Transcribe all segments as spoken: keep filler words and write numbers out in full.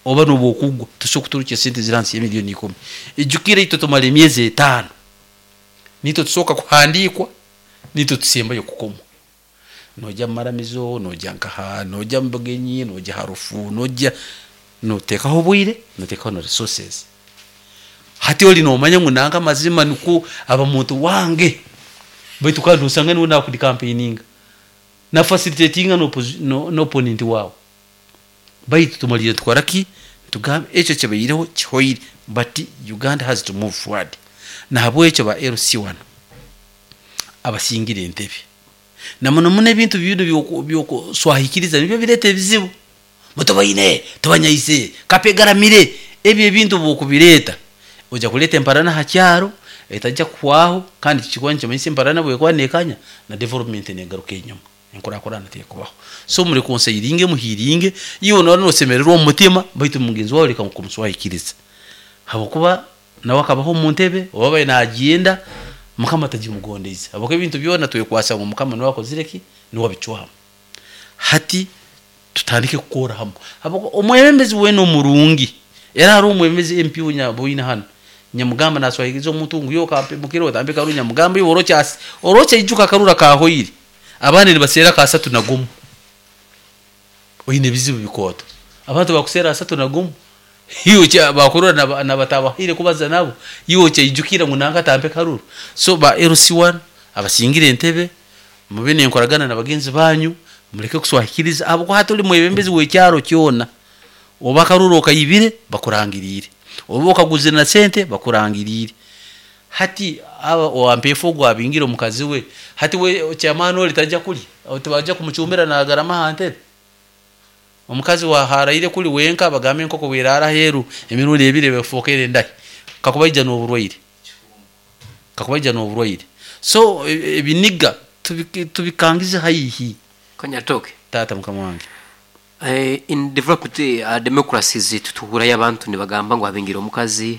Oba noba okugwa tosobola kuturukya sente ziri hansi y'emiliyoni ikumi. Ijukira itwe tumara emyezi etaano, nitwe tusooka kuhandiikwa, nitwe tusembayo kukomwa. Nojya mu maramizo, nojya nkaha, nojya mu bugenyi, nojya ha rufu, nojya noteekaho obwire, noteekaho na resources. Hati ori nomanya ngu nanka amazima nikwo aba muntu wange, baitu kandi osanga niwe nakudicampaigninga na facilitatinga n'opponent waawe. Baitu tumalire nitukora ki? Nitugamba ekyo kibaireho kihoire, but Uganda has to move forward. Nahabwekyo ba L C one abasingire entebe, na muno muno ebintu binu by'okuswahikiriza nibyo bireeta ebizibu. Mutubaine, tubanyaise, kapegaramire, ebyo ebintu bw'okubireeta ojja kureeta emparana aha kyaro etajya kuhwaho, kandi kikuba nikimanyisa emparana bwekuba nekanya na development negaruka enyuma, enkurakurana tekubaho. So mureconcilinge, muhealinge. Iwe noba nosemererwa omu mutima, baitu mugenzi wawe leka kumuswahikiriza, habwokuba nawe akabaho omu ntebe oba abaire nagyenda Mukama tagimugondeize, habwokuba ebintu byona twekwasa ngu Mukama niwe akozire ki, niwe abicwamu. Hati tutandike kukora hamwe, habwokuba omwebembezi weena omurungi, era hariho omwebembezi M P boine hanu nyamugamba naswahikiriza omuntu ngu yo kampemukire otambe karuru. Nyamugamba, iwe orokyasi orokyaijuka akaruru akahoire, abandi nibaseera ka asatu na gumu, oine ebizibu bikooto. Abantu bakuseera asatu na gumu, iwe bakurora nabatabahaire kubaza nabo, iwe okyaijukira ngu nanka atampe karuru. So ba L C one abasingire entebe, mube nenkoragana na bagenzi banyu, muleke kuswahikiriza, habwokuba hati oli mwebembezi w'ekyaro kyona. Oba akaruru okaibire, bakurangiriire, oba okaguzire na sente, bakurangiriire. Hati aba owampeefu ogu abingire omukazi we, hati we chairman ori tajya kulya, tibajya kumucumbira nagarama aha ntebe. Omukazi waharaire kuli wenka, bagambe enkoko bwerara aheeru emirundi ebiri efookere endahi, kakuba aija n'oburwaire, kakuba aija n'oburwaire. So ebiniga tubikangize haihi. Kanyaritoke. Taata mukama wange. Eh, in developed uh, democracies tutuhurayo abantu nibagamba ngu abingira omukazi.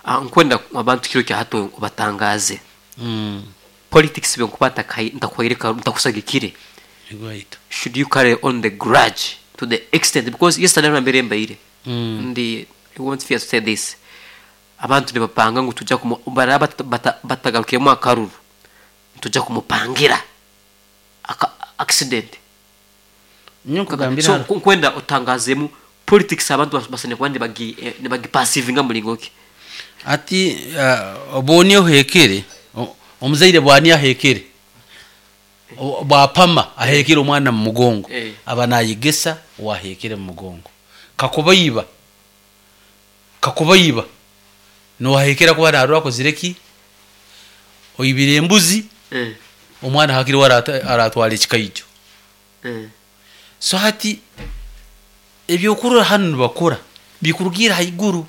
uh, nkwenda abantu kiro kya hato batangaze mm. politics byenkuba ntakwireka ntakusagikire. Right. Should you carry on the grudge to the extent, because yesterday nambere mbaire Mm. ndi, I won't fear to say this, abantu nibapanga ngu tujja kumu baraba bata- batagarukiremu akaruru, tujja kumupangira aka accident. Nyo nkugambira So hano. ku- nkwenda otangazemu politics, abantu bas- basane kuba nibagi eh, nibagiperceivinga mulingo ki? Ati uh, bwoni ohekere o- omuzaire bwani ahekere O- bwapama ahekere omwana mu mugongo, Eh. aba nayegesa wahekere mu mugongo. Kakuba iba, kakuba iba nowahekera kuba narora akozire ki, oibire embuzi, eh omwana hakiri we aratwara ekikaijo. eh So hati ebyokurora hanu nibakora bikurugira haiguru.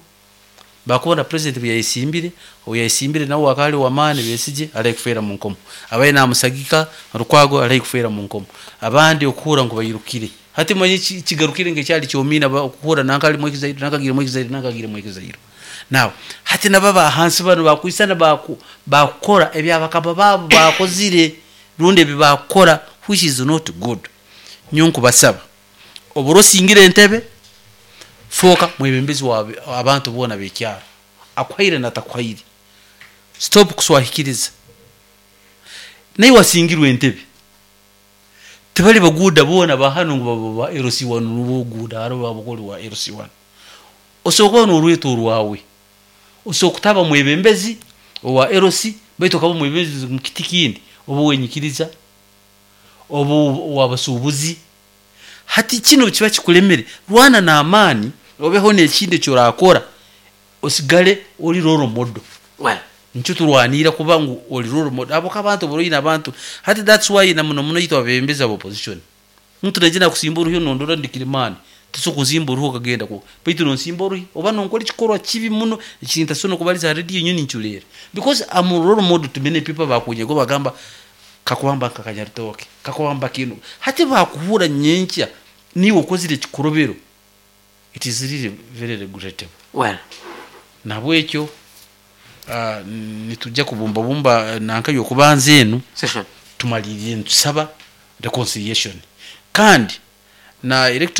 Bakubona president bweyayesimbire, oyayesimbire nawe akali wamaani, Besigye arahi kufeera mu nkomo, abaye namusagika Lukwago arahi kufeera mu nkomo, abandi okuhura ngu bairukire. Hati manye kigarukire nkekyali kyomina, okuhura nanka ali mu exile, nanka agire mu exile, nanka agire mu exile. Now hati nabo abahansi bano bakwisana baku bakukora ebyabakaba baabo bakozire rundi ebi bakukora, which is not good. Nyo nkubasaba, obura osingire entebe, fooka mwebembezi wa abantu boona b'ekyaro, akuhaire natakuhaire. Stop kuswahikiriza. Naye wasingirwe entebe, tibali baguuda boona bahano ngu baba ba L C one nuboguuda. Hariho babukoli wa L C one, osobola kuba n'orweto orwawe, osobola kutaba mwebembezi owa L C, baitu okaba mwebembezi mu kiti kindi, oba wenyikiriza, oba owabasuubuzi. Hati kino kiba kikulemere, rwana n'amaani obeho n'ekindi ekyorakora, osigale ori role model. Well. Nikyo turwanira, kuba ngu ori role model abo abantu boroine abantu. Hati that's why na muno muno itwe abebembezi aba opposition, muntu naije nakusimba oruhi, nondora ndikirimani, tosobola kunsimba oruhi okagenda ku, baitu nonsimba oruhi oba nonkora ekikorwa kibi muno ekintasobola nokubaliza ha radio. Nyo ninculeera because I'm a role model to many people. Bakunyego bagamba kakuwamba nka Kanyaritoke, kakuwamba kinu. Hati bakuhura nyenkya niwe okozire ekikorobero, it is really very regrettable. Well. Nabwekyo uh, nitujja kubumbabumba nanka yokubanza enu session. Tumalirire nitusaba reconciliation kandi na electoral